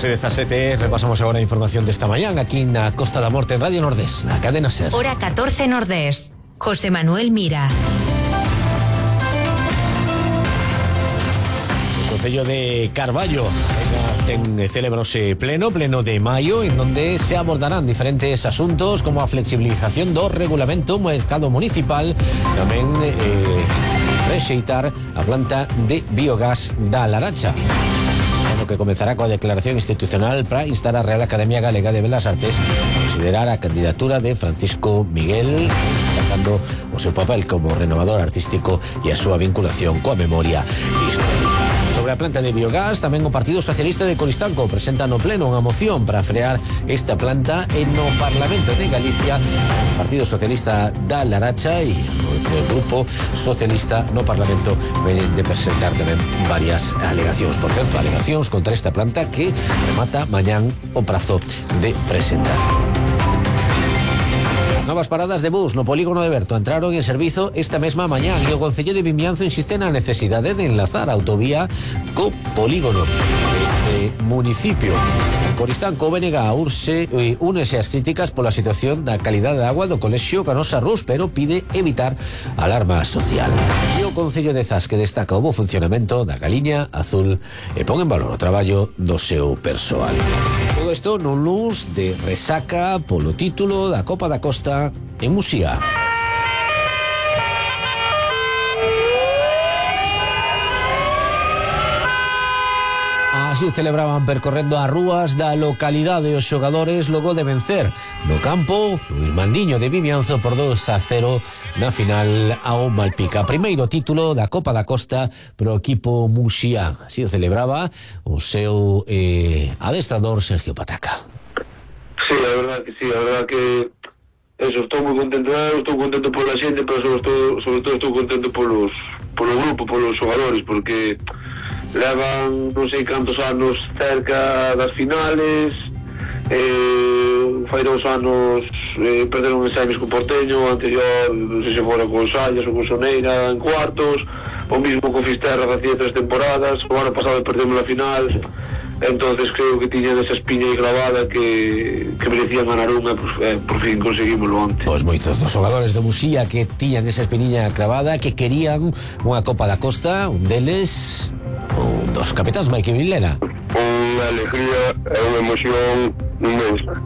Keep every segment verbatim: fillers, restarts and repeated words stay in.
doce dezasete, repasamos agora a información desta mañán aquí na Costa da Morte en Radio Nordés, na cadena SER. Hora catorce Nordés. José Manuel Mira. O Concello de Carballo ten celebrose pleno, pleno de maio, en donde se abordarán diferentes asuntos como a flexibilización do regulamento mercado municipal, tamén eh, rexeitar a planta de biogás da Laracha, que comenzará coa declaración institucional para instar a Real Academia Galega de Belas Artes a considerar a candidatura de Francisco Miguel, destacando o seu papel como renovador artístico e a súa vinculación coa memoria histórica. Sobre a planta de biogás, tamén o Partido Socialista de Coristanco presenta no pleno unha moción para frear esta planta e no Parlamento de Galicia o Partido Socialista da Laracha e o Grupo Socialista no Parlamento ven de presentar tamén varias alegacións. Por certo, alegacións contra esta planta que remata mañán o prazo de presentación. Novas paradas de bus no polígono de Berto entraron en servizo esta mesma mañán e o Concello de Vimianzo insiste na necesidade de enlazar a autovía co polígono deste municipio. Coristanco, o B N G urse, eh, únese ás críticas pola situación da calidade de agua do colexio Canosa Rus, pero pide evitar alarma social. E o Concello de Zas, que destaca o bo funcionamento da Galiña Azul e pon en valor o traballo do seu persoal. Todo isto nun luns de resaca polo título da Copa da Costa en Muxía. Así celebraban percorrendo as rúas da localidade os xogadores logo de vencer no campo o Irmandiño de Vimianzo por dos a cero na final ao Malpica. Primeiro título da Copa da Costa pro equipo muxián. Así o celebraba o seu eh, adestrador Sergio Pataca. Sí, a verdad que sí, a verdad que eso, estou moi contento, estou contento pola xente, pero sobre todo, sobre todo estou contento polos, polo grupo, polos xogadores, porque levan non sei cantos anos cerca das finales, eh, fai dous anos eh, perderon en semis co Porteño, anterior non sei se fora con Sallas ou con Soneira en cuartos, o mismo con Fisterra hacía tres temporadas, o ano pasado perdemos a final. Entonces creo que tiñan esa espiña aí grabada que, que merecían ganar unha, pues, eh, por fin conseguimoslo antes. Pois moitos dos xogadores de Muxía que tiñan esa espiña cravada, que querían unha Copa da Costa, un deles, un dos capitáns, Maike Vilena. Unha alegría e unha emoción inmensa.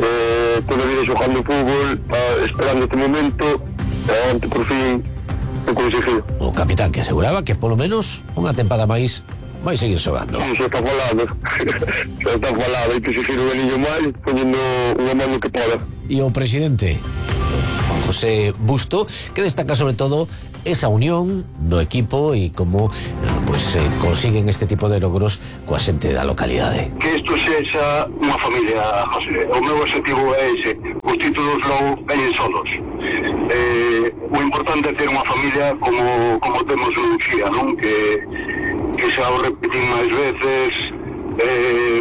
Eh, toda a vida xogando fútbol, esperando este momento, e ante por fin o conseguiu. O capitán que aseguraba que polo menos unha tempada máis vai seguir xogando. Sí, xa está falado. Xa está falado, hai que seguir un aninho máis, poñendo unha mano que poda. E o presidente Juan José Busto, que destaca sobre todo esa unión do equipo e como pues, eh, consiguen este tipo de logros coa xente da localidade. Que isto sexa unha familia, José. O meu objetivo é ese. Os títulos logo veñen solos. Eh, o importante é ter unha familia como, como temos en Muxía, non? Que que xa o repetín máis veces, eh,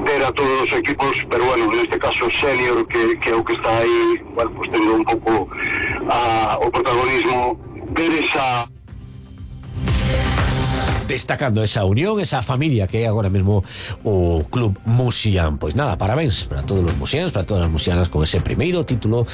ter a todos os equipos, pero bueno, neste caso senior, que, que é o que está aí, bueno, pues tendo un pouco a, o protagonismo, ver esa... Destacando esa unión, esa familia que é agora mesmo o Club Muxián. Pois nada, parabéns para todos os muxiáns, para todas as muxianas con ese primeiro título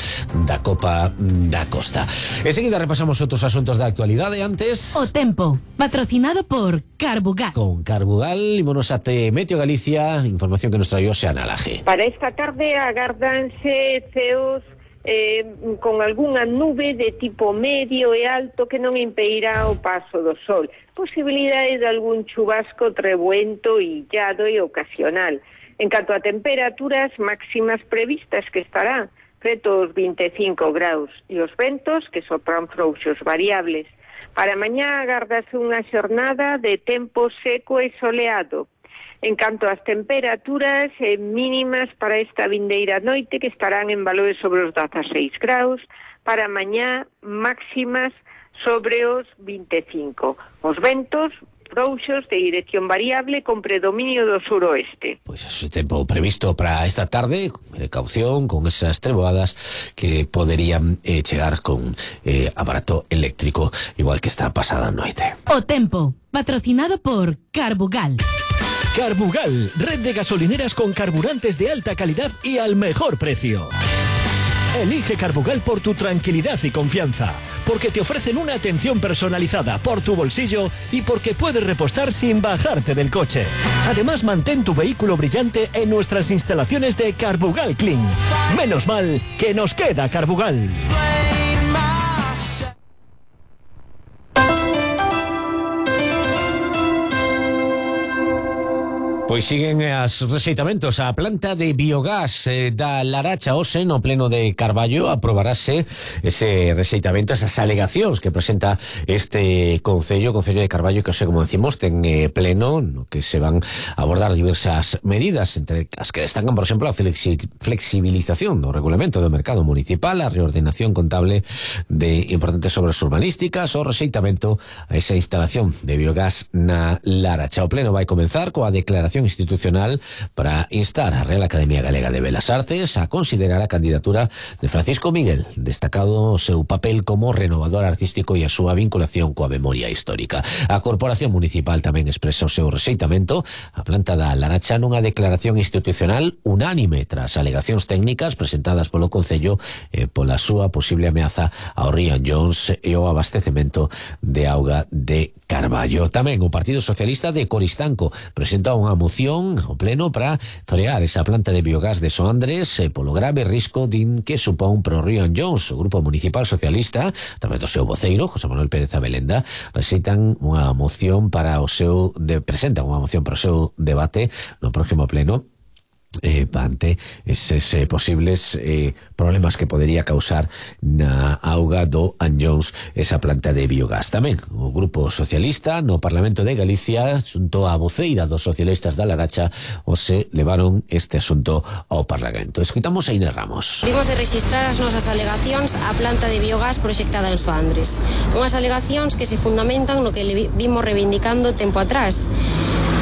da Copa da Costa. Enseguida repasamos outros asuntos da actualidade. Antes, o tempo, patrocinado por Carbugal. Con Carbugal, ímonos até Meteo Galicia, información que nos traio Xana Laje. Para esta tarde agárdanse ceos Eh, con algunha nube de tipo medio e alto que non impedirá o paso do sol. Posibilidade de algún chubasco, trebuento, illado e ocasional. En canto a temperaturas máximas previstas, que estarán preto os vinte e cinco graus, e os ventos que sopran frouxos variables. Para mañá agardase unha xornada de tempo seco e soleado. En canto ás temperaturas eh, mínimas para esta vindeira noite, que estarán en valores sobre os dezaseis graus, para mañá máximas sobre os vinte e cinco. Os ventos frouxos de dirección variable con predominio do suroeste. Pois ese tempo previsto para esta tarde, precaución con esas treboadas que poderían eh, chegar con eh, aparato eléctrico, igual que esta pasada noite. O tempo, patrocinado por Carbugal. Carbugal, red de gasolineras con carburantes de alta calidad y al mejor precio. Elige Carbugal por tu tranquilidad y confianza, porque te ofrecen una atención personalizada por tu bolsillo y porque puedes repostar sin bajarte del coche. Además, mantén tu vehículo brillante en nuestras instalaciones de Carbugal Clean. Menos mal que nos queda Carbugal. Pois siguen as rexeitamentos. A planta de biogás eh, da Laracha hoxe no pleno de Carballo aprobarase ese rexeitamento, esas alegacións que presenta este Concello, Concello de Carballo, que hoxe, como decimos, ten eh, pleno no que se van a abordar diversas medidas, entre as que destacan, por exemplo, a flexi flexibilización do regulamento do mercado municipal, a reordenación contable de importantes obras urbanísticas, o rexeitamento a esa instalación de biogás na Laracha. O pleno vai comenzar coa declaración institucional para instar a Real Academia Galega de Belas Artes a considerar a candidatura de Francisco Miguel, destacado o seu papel como renovador artístico e a súa vinculación coa memoria histórica. A Corporación Municipal tamén expresa o seu rexeitamento a planta da Laracha nunha declaración institucional unánime tras alegacións técnicas presentadas polo Concello e pola súa posible ameaza ao río Jones e o abastecemento de auga de Carballo. Tamén o Partido Socialista de Coristanco presenta unha moción ao pleno para frear esa planta de biogás de Soandres eh, polo grave risco din que supón pro río Jones. O Grupo Municipal Socialista, a través do seu voceiro, José Manuel Pérez Abelenda, recitan unha moción para o seu de, presentan unha moción para o seu debate no próximo pleno Eh, ante eses eh, posibles eh, problemas que podería causar na auga do Anllóns esa planta de biogás. Tamén o Grupo Socialista no Parlamento de Galicia, xunto a voceira dos socialistas da Laracha, o se levaron este asunto ao Parlamento. Escoitamos a Inés Ramos. Vimos de registrar as nosas alegacións á planta de biogás proxectada en Soandres. Unhas alegacións que se fundamentan no que vimos reivindicando tempo atrás.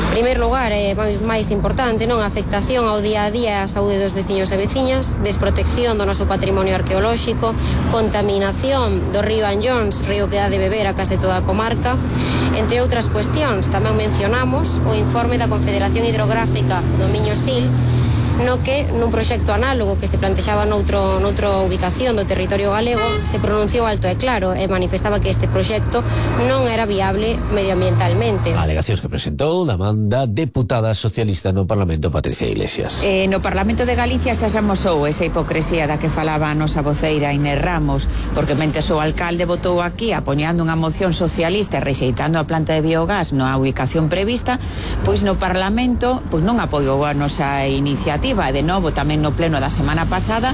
En primeiro lugar, é máis importante, non, a afectación ao día a día á saúde dos veciños e veciñas, desprotección do noso patrimonio arqueolóxico, contaminación do río Anllóns, río que dá de beber a case toda a comarca, entre outras cuestións. Tamén mencionamos o informe da Confederación Hidrográfica do Miño Sil, no que nun proxecto análogo que se plantexaba noutro, noutra ubicación do territorio galego se pronunciou alto e claro e manifestaba que este proxecto non era viable medioambientalmente. Alegacións que presentou da manda deputada socialista no Parlamento, Patricia Iglesias. Eh, no Parlamento de Galicia xa se amosou esa hipocresía da que falaba a nosa voceira Inés Ramos, porque mentres o alcalde votou aquí apoiando unha moción socialista e rexeitando a planta de biogás na ubicación prevista, pois no Parlamento pois non apoiou a nosa iniciativa. De novo, tamén no pleno da semana pasada,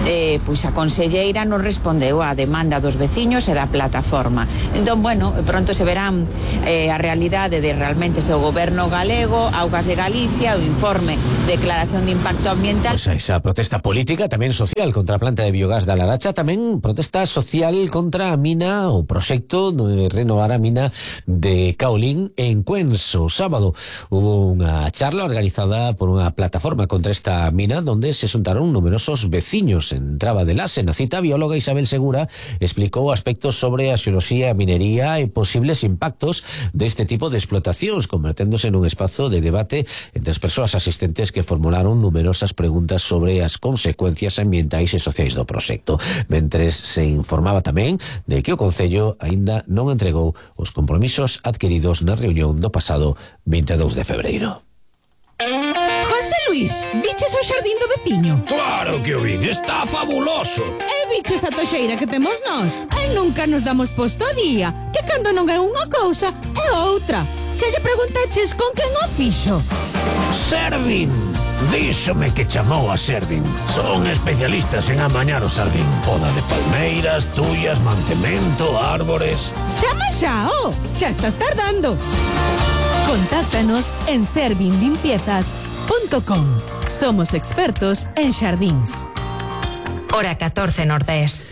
eh, pois a conselleira non respondeu á demanda dos veciños e da plataforma. Entón, bueno, pronto se verán eh, a realidade de realmente se o goberno galego, Augas de Galicia, o informe Declaración de Impacto Ambiental. Pues esa protesta política, tamén social, contra a planta de biogás da Laracha, tamén protesta social contra a mina, o proxecto de renovar a mina de Caolín en Cuenso. O sábado hubo unha charla organizada por unha plataforma contra esta mina, donde se xuntaron numerosos veciños. En Traba de Lase, na cita, a bióloga Isabel Segura explicou aspectos sobre a xeoloxía, a minería e posibles impactos deste tipo de explotacións, converténdose nun espazo de debate entre as persoas asistentes que formularon numerosas preguntas sobre as consecuencias ambientais e sociais do proxecto, mentres se informaba tamén de que o Concello aínda non entregou os compromisos adquiridos na reunión do pasado vinte e dous de febreiro. José Luis, viches o xardín do veciño? Claro que o vin, está fabuloso. E viches a toxeira que temos nós? E nunca nos damos posto a día, que cando non é unha cousa, é outra. Xa lle preguntaches con quen o fixo? Servin! Díxome que chamou a Servin. Son especialistas en amañar o xardín. Poda de palmeiras, tuyas, mantemento, árbores. Chama xa, oh, xa estás tardando. Contáctanos en servin limpiezas punto com. Somos expertos en xardíns. Hora catorce Nordés.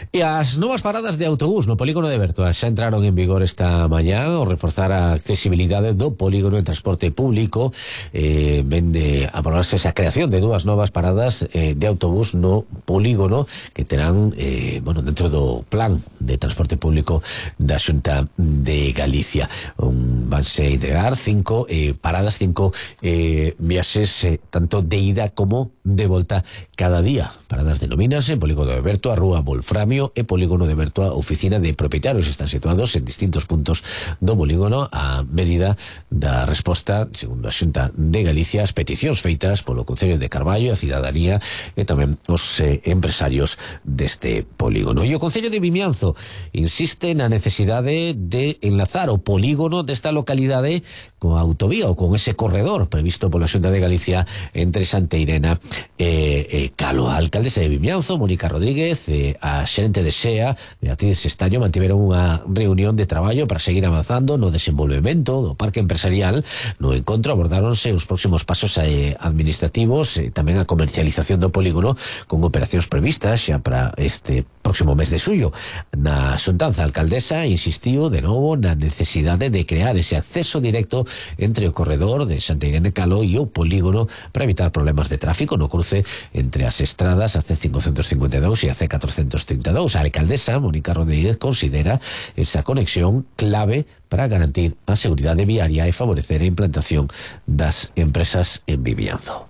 E as novas paradas de autobús no polígono de Bertoa xa entraron en vigor esta mañá ao reforzar a accesibilidade do polígono en transporte público. Eh, ven de aprobarse esa creación de dúas novas paradas eh, de autobús no polígono que terán eh, bueno, dentro do plan de transporte público da Xunta de Galicia. Um, vanse integrar cinco eh, paradas, cinco eh, viaxes eh, tanto de ida como de volta cada día. Paradas denomínanse en polígono de Bertoa, Rúa Volframio e polígono de Bertoa, oficina de propietarios. Están situados en distintos puntos do polígono a medida da resposta, segundo a Xunta de Galicia, as peticións feitas polo Concello de Carballo, a cidadanía e tamén os eh, empresarios deste polígono. E o Concello de Vimianzo insiste na necesidade de enlazar o polígono desta localidade coa autovía ou con ese corredor previsto pola Xunta de Galicia entre Santeirena e, e Calo. A alcaldesa de Vimianzo, Mónica Rodríguez, e a xerente de Xea, Beatriz Estaño, mantiveron unha reunión de traballo para seguir avanzando no desenvolvemento do parque empresarial. No encontro abordáronse os próximos pasos eh, administrativos e tamén a comercialización do polígono con operacións previstas xa para este próximo mes de suyo. Na xuntanza, a alcaldesa insistiu de novo na necesidade de crear ese acceso directo entre o corredor de Santeirena e Calo e o polígono para evitar problemas de tráfico no cruce entre as estradas a C cincuenta e cincuenta e dous e a C catorcentos trinta e dous. A alcaldesa Mónica Rodríguez considera esa conexión clave para garantir a seguridade viaria e favorecer a implantación das empresas en Vimianzo.